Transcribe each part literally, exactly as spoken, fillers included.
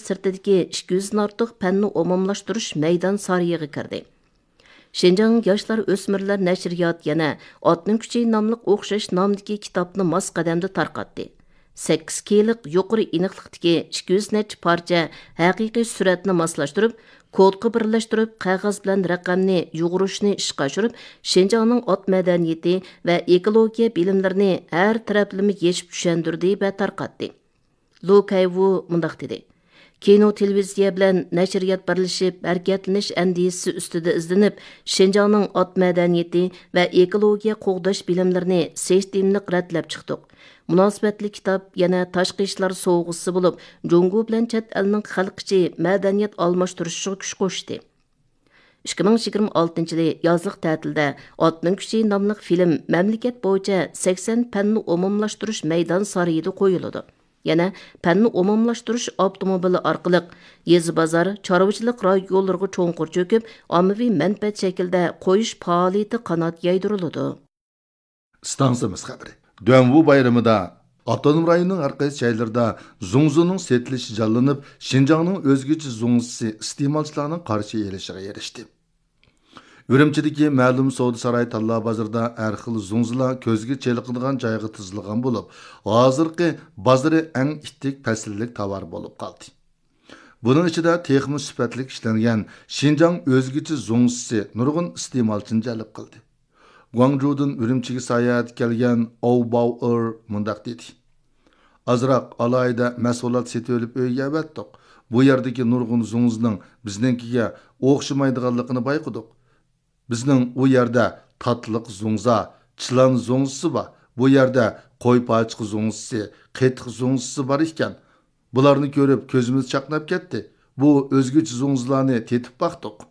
سىرتىدىكى ئىككى يۈزدىن ئارتۇق پەننى ئومۇملاشتۇرۇش مەيدان سارىيىغا كىردى. شىنجاڭ ياشلار ئۆسمۈرلەر نەشرىياتى يەنە ئاتنىڭ كۈچى ناملىق ئوخشاش نامدىكى كىتابنى ماس قەدەمدە تارقاتتى. سەككىز كېيلىق يۇقىرى ئېنىقلىقتىكى ئىككى يۈز نەچچە پارچە ھەقىقىي سۈرەتنى ماسلاشتۇرۇپ، كودقا بىرلەشتۈرۈپ، قەغەز بىلەن رەقەمنى يۇغۇرۇشنى ئىشقا ئاشۇرۇپ، شىنجاڭنىڭ ئات مەدەنىيىتى ۋە ئېكولوگىيە بىلىملىرىنى ھەر تەرەپلىمە يېشىپ چۈشەندۈردى ۋە تارقاتتى. لو كەيۋۇ مۇنداق دېدى: كىنو، تېلېۋىزىيە بىلەن نەشرىيات بىرلىشىپ ھەرىكەتلىنىش ئەندىزىسى ئۈستىدە ئىزدىنىپ، شىنجاڭنىڭ ئات مەدەنىيىتى ۋە ئېكولوگىيە قوغداش بىلىملىرىنى سىستېمىلىق رەتلەپ چىقتۇق. مۇناسىۋەتلىك كىتاب يەنە تاشقى ئىشلار سوۋغىسى بولۇپ، جۇڭگو بىلەن چەت ئەلنىڭ خەلق ئىچى مەدەنىيەت ئالماشتۇرۇشىغا كۈچ قوشتى. ئىككى مىڭ يىگىرمە ئالتىنچى يىلى يازلىق تەتىلدە ئاتنىڭ كۈچى ناملىق فىلىم مەملىكەت بويىچە سەكسەن پەننى ئومۇملاشتۇرۇش مەيدان سارىيىدا قويۇلىدۇ. يەنە پەننى ئومۇملاشتۇرۇش ئاپتوموبىلى ئارقىلىق يېزا، بازار، چارۋىچىلىق رايونلىرىغا چوڭقۇر چۆكۈپ، ئاممىۋى مەنپەئەت شەكلىدە قويۇش پائالىيىتى قانات يايدۇرۇلىدۇ. ئىستانسىمىز خەۋىرى. دۈەنۋۇ بايرىمىدا ئاپتونوم رايوننىڭ ھەر قايسى جايلىرىدا زۇڭزىنىڭ سېتىلىشى جانلىنىپ، شىنجاڭنىڭ ئۆزگىچە زۇڭزىسى ئىستېمالچىلارنىڭ قارشى ئېلىشىغا ئېرىشتى. ئۈرۈمچىدىكى مەلۇم سودا ساراي تاللا بازىرىدا ھەر خىل زۇڭزىلار كۆزگە چېلىقىدىغان جايغا تىزىلغان بولۇپ، ھازىرقى بازىرى ئەڭ ئىتتىك پەسىللىك تاۋار بولۇپ قالدى. بۇنىڭ ئىچىدە تېخىمۇ سۈپەتلىك ئىشلەنگەن شىنجاڭ ئۆزگىچە زۇڭزىسى نۇرغۇن ئىستېمالچىنى جەلپ قىلدى. گۇاڭجۇدىن ئۈرۈمچىگە ساياھەتكە كەلگەن ئاۋ باۋېر مۇنداق دېدى: ئازراق ئالاھىدە مەھسۇلات سېتىۋېلىپ ئۆيگە ئەۋەتتۇق. بۇ يەردىكى نۇرغۇن زۇڭزىنىڭ بىزنىڭكىگە ئوخشىمايدىغانلىقىنى بايقىدۇق. بىزنىڭ ئۇ يەردە تاتلىق زۇڭزا، چىلان زۇڭزىسى بار. بۇ يەردە قوي پاچىقى زۇڭزىسى، قېتىق زۇڭزىسى بار ئىكەن. بۇلارنى كۆرۈپ كۆزىمىز چاقناپ كەتتى. بۇ ئۆزگىچە زۇڭزىلارنى تېتىپ باقتۇق.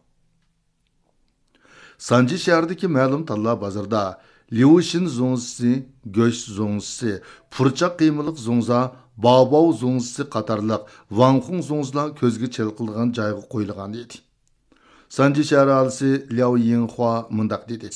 سانجى شەھىرىدىكى مەلۇم تاللا بازىرىدا ليۇشىن زۇڭزىسى، گۆش زۇڭزىسى، پۇرچاق قىيمىلىق زۇڭزا، باۋباۋ زۇڭزىسى قاتارلىق ۋاڭخۇڭ زۇڭزىلار كۆزگە چېلىقىدىغان جايغا قويۇلغان ئىدى. سانجى شەھەر ئاھالىسى لياۋ يىڭخۇا مۇنداق دېدى: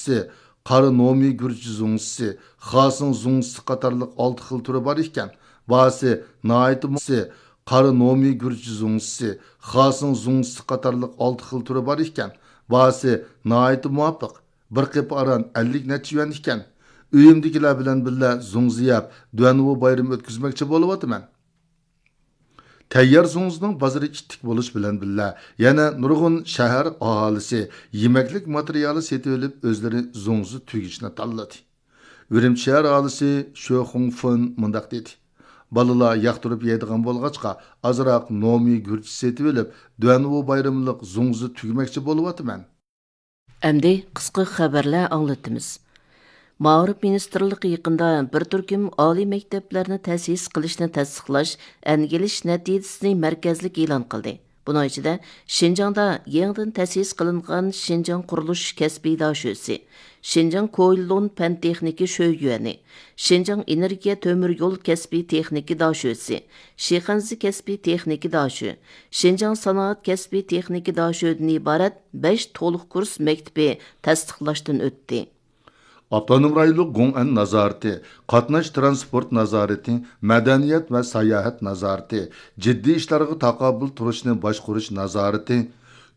قارا نومى گۈرجى زۇڭزىسى، خاسىڭ زۇڭزىسى قاتارلىق ئالتە خىل تۈرى بار ئىكەن. باھاسى ناھايىتى مۇ-، قارا نومى گۈرجى زۇڭزىسى، خاسىڭ زۇڭزىسى قاتارلىق ئالتە خىل تۈرى بار ئىكەن. باھاسى ناھايىتى مۇۋاپىق. بىر قېپى ئاران ئەللىك نەچچە يۈەن ئىكەن. ئۆيۈمدىكىلەر بىلەن بىللە زۇڭزا يەپ، دۈەنۋۇ بايرىمى ئۆتكۈزمەكچى بولۇۋاتىمەن. تەييار زۇڭزىنىڭ بازىرى ئىتتىك بولۇش بىلەن بىللە، يەنە نۇرغۇن شەھەر ئاھالىسى يېمەكلىك ماتېرىيالى سېتىۋېلىپ، ئۆزلىرى زۇڭزا تۈگۈچىنى تاللىدى. ئۈرۈمچى شەھەر ئاھالىسى شۆ خۇڭفېن مۇنداق دېدى: بالىلار ياقتۇرۇپ يەيدىغان بولغاچقا، ئازراق نومى گۈرچە سېتىۋېلىپ، دۈەنۋۇ بايرىملىق زۇڭزا تۈگمەكچى بولۇۋاتىمەن. ئەمدى قىسقا خەۋەرلەر ئاڭلىتىمىز. مائارىپ مىنىستىرلىقى يېقىندا بىر تۈركۈم ئالىي مەكتەپلەرنى تەسىس قىلىشنى تەستىقلاش، ئەنگىلىش نەتىجىسىنى مەركەزلىك ئېلان قىلدى. بۇنىڭ ئىچىدە شىنجاڭدا يېڭىدىن تەسىس قىلىنغان شىنجاڭ قۇرۇلۇش كەسپىي داشۆسى، شىنجاڭ كويلون پەن تېخنىكا شۆيۈەنى، شىنجاڭ ئېنېرگىيە تۆمۈر يول كەسپىي تېخنىكا داشۆسى، شىخەنزە كەسپىي تېخنىكا داشۆ، شىنجاڭ سانائەت كەسپىي تېخنىكا داشۆدىن ئىبارەت بەش تولۇق كۇرس مەكتىپى تەستىقلاشتىن ئۆتتى. ئاپتونوم رايونلۇق گوڭئەن نازارىتى، قاتناش تىرانسپورت نازارىتى، مەدەنىيەت ۋە ساياھەت نازارىتى، جىددىي ئىشلارغا تاقابىل تۇرۇشنى باشقۇرۇش نازارىتى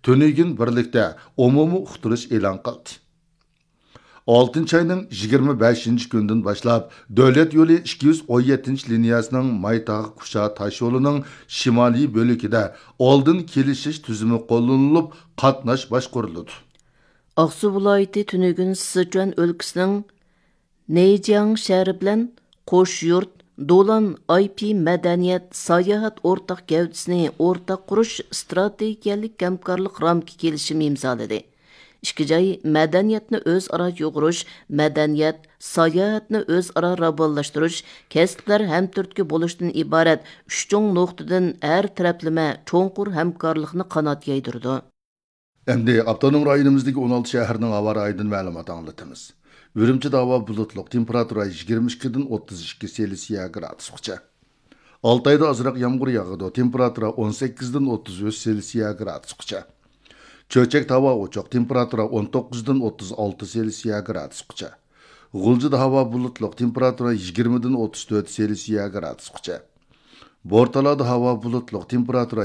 تۈنۈگۈن بىرلىكتە ئومۇمىي ئۇقتۇرۇش ئېلان قىلدى. ئالتىنچى ئاينىڭ يىگىرمە بەشىنچى كۈنىدىن باشلاپ، دۆلەت يولى ئىككى يۈز ئون يەتتىنچى لىنىيەسىنىڭ مايتاغ قۇشا تاشيولىنىڭ شىمالىي بۆلىكىدە ئالدىن كېلىشىش تۈزۈمى قوللىنىلىپ، قاتناش باشقۇرۇلىدۇ. ئاقسۇ ۋىلايىتى تۈنۈگۈن سىچۈەن ئۆلكىسىنىڭ نېيجياڭ شەھىرى بىلەن قوشيۇرت دولان ئاي پى مەدەنىيەت ساياھەت ئورتاق گەۋدىسىنى ئورتاق قۇرۇش ئىستراتېگىيەلىك ھەمكارلىق رامكا كېلىشىمى ئىمزالىدى. ئىككى جاي مەدەنىيەتنى ئۆزئارا يۇغۇرۇش، مەدەنىيەت، ساياھەتنى ئۆزئارا راۋانلاشتۇرۇش، كەسىپلەر ھەمتۈرتكە بولۇشتىن ئىبارەت ئۈچ چوڭ نۇقتىدىن ھەر تەرەپلىمە چوڭقۇر ھەمكارلىقنى قانات يايدۇرىدۇ. ئەمدى ئاپتونوم رايونىمىزدىكى ئون ئالتە شەھەرنىڭ ھاۋا رايىدىن مەلۇمات ئاڭلىتىمىز. ئۈرۈمچىدە ھاۋا بۇلۇتلۇق، تېمپېراتۇرا يىگىرمە ئىككىدىن ئوتتۇز ئىككى سېلسىيە گرادۇسقىچە. ئالتايدا ئازراق يامغۇر ياغىدۇ، تېمپېراتۇرا ئون سەككىزدىن ئوتتۇز ئۈچ سېلسىيە گرادۇسقىچە. چۆچەكتە ھاۋا ئوچۇق، تېمپېراتۇرا ئون توققۇزدىن ئوتتۇز ئالتە سېلسىيە گرادۇسقىچە. غۇلجىدا ھاۋا بۇلۇتلۇق، تېمپېراتۇرا يىگىرمىدىن ئوتتۇز تۆت سېلسىيە گرادۇسقىچە. بورتالادا ھاۋا بۇلۇتلۇق، تېمپېراتۇرا